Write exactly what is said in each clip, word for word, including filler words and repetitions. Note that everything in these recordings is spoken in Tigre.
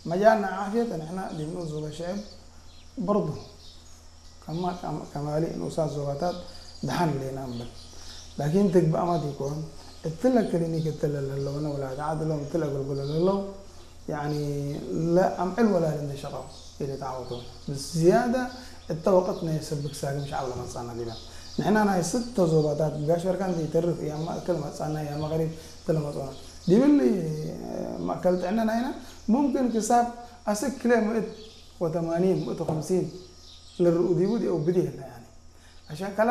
መጃልና ዓፍየት ንሕና ዲብ ንኡስ ዞበ ሽዕብ በርዱ ከማ-፣ ከማሊ ንኡሳት ዞባታት ደሓን ህሌና እምብል። ላኪን ትግባእመ ዲኮን፣ እትለ ክሊኒክ እትለ ለህለውነ ውላድ ዐድ እሎም እትለ አገልግሎ ለህለው፣ ያኒ ለአምዕል ወላድ እንዴ ሸቀው ኢልትዓወቱ። ብዝያደ እተ ወቅት ናይ ሰብክ ሳግም ሸዐብ ለመጽአነ ዲበ። ንሕና ናይ ስተ ዞባታት ጋሽ በርካን እንዴ ኢተርፍ፣ ያመ እክል መጽአነ፣ ያመ ቀሪብ እትለ መጽኦነ። ዲብሊ መእከል ጥዕነ ናይነ ሙምክን ክሳብ አስክ ክልኤ ምእት ወተማኒን፣ ምእት ወክምሲን ልርኡ ዲቡ ዲአው ብዲ ህለ፣ ያኒ። አሸን ከላ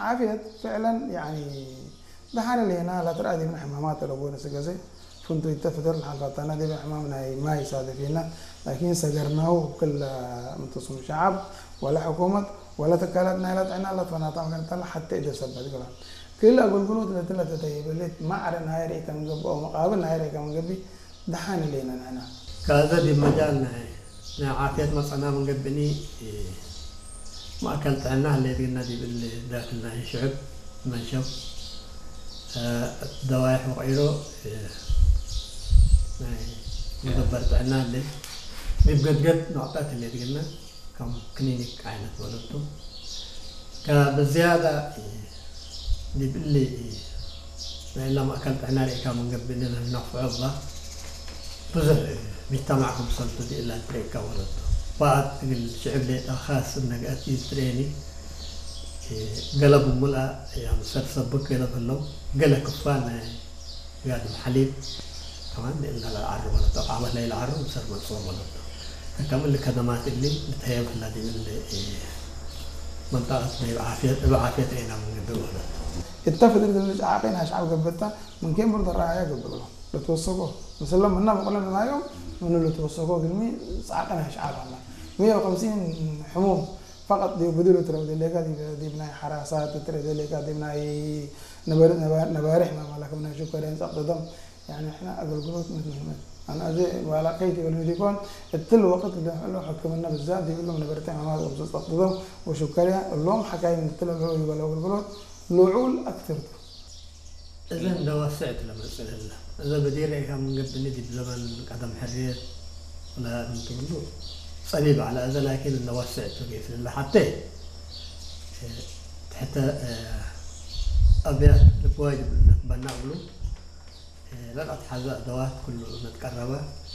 ዓፍየት ፍዕለን፣ ያኒ፣ ደሓን ህሌና ለትረአ ዲብነ ሕማማት ለቦነ ስገሴ ፍንቱይተ ፍትር ለሐልፋታና ዲብ ሕማም ናይ ማይ ሳደፊና፣ ላኪን ሰገርናሁ ክለ ምንትሱም ሸዓብ ወለ ሕኩመት ወለ ትካላት ናይለ ጥዕና ለትፈናታ መገንጠለ ሐቴ እደ ሰበት ግባ። ክል አገልግሎት ለትለ ተተይበሌት ማዕረ ናይ ርኢከ ምን ገብእ ወመቃብል ናይ ርኢከ ምን ገብእ ደሓን ህሌነ ንሕና። ከአዘ ዲብ መጃል ናይ፣ ናይ ዓፍየት መጽአና ምን ገብእኒ፣ ማእከል ጥዕና ህሌት ግና ዲብ እሊ ዳክል ናይ ሽዕብ መንሸብ፣ ደዋይሕ ወቀይሮ፣ ናይ መደበር ጥዕና ህሌት። ዲብ ገድገድ ኖዕጠት ህሌት ግና ከም ክሊኒክ ዓይነት ወለቱ። ከብዝያዳ ዲብ እሊ ናይ እለ ማእከል ጥዕና ርኢካ ምን ገብእ እሊ ነንፈዑ እባ ብዙሕ ሚጅተማዕ ክምሰልቱ ዲእላ ትርኤካ ወለቱ። በአት እግል ሽዕብ ሌጠ ካስ እነ ገአት ኢትትርኤኒ። ገለ ብሙልአ ያምሰል ሰብክ ገለ በለው፣ ገለ ክፋል ናይ ጋድም ሐሊብ ከማን እለ ለዐሩ ወለቶ፣ ቃበት ለኢለዐሩ ምሰል መጽኦ ወለቶ። ከከም እሊ ከደማት እሊ ልትሀየብ ህላ ዲብ እሊ መንጠቀት ናይ እብ ዓፍየት፣ እብ ዓፍየት ዔና ምን ገብእ ወለቶ። እተ ፍድል እሊ ዐቄን አሽዓብ ገብእታ፣ ምን ኬን ብርድ ረአያ ገብእ እግሎም ልትወሰኮ። ምስለ ምነ በቅለ ናዮም ምኑ ልትወሰኮ እግልሚ ዐቄን አሽዓብ ሀላ። ምየ ወከምሲን ሕሙም ፈቀጥ ዲብ ብድሉ ትረፍ ደሌካ፣ ዲብ፣ ዲብ ናይ ሐራሳት ትረፍ ደሌካ፣ ዲብ ናይ ነበር-፣ ነባ-፣ ነባሬሕ ማማላ ክም ናይ ሹከርያን ጸቅጥ ደም፣ ያኒ፣ ሕነ አገልግሎት ምት ሙሂመት። አነ አዜ ባላ ከይት እግል ዲኮን፣ እትል ወቅት ለህሎ ሕክምነ ብዛት ዲብ እሎም ነበርተ ሕማማት ወብዘት ጸቅጥ ደም ወሹከርያ እሎም ሐካይም እትለ ለህሎ ዲበለ አገልግሎት ልዑል አክትር ቱ። እዘ እንደ ወስዕት ለመጽእ ለህለ። እዘ በዲር ርኤካ ምን ገብእኒ ዲብ ዘመን ቀደም ሕርየት ለምን ትብሉ ጸቢብ ዐለ። እዘ ላኪን እንደ ወስዕት ቱ ጌፍ ለህለ ሐቴ፣ እ፣ ትሕተ፣ እ፣ አብያት ልብ ዋጅብ እንበና እግሉ፣ እ፣ ለልአትሐዘ አደዋት ኩሉ እንትቀረበ፣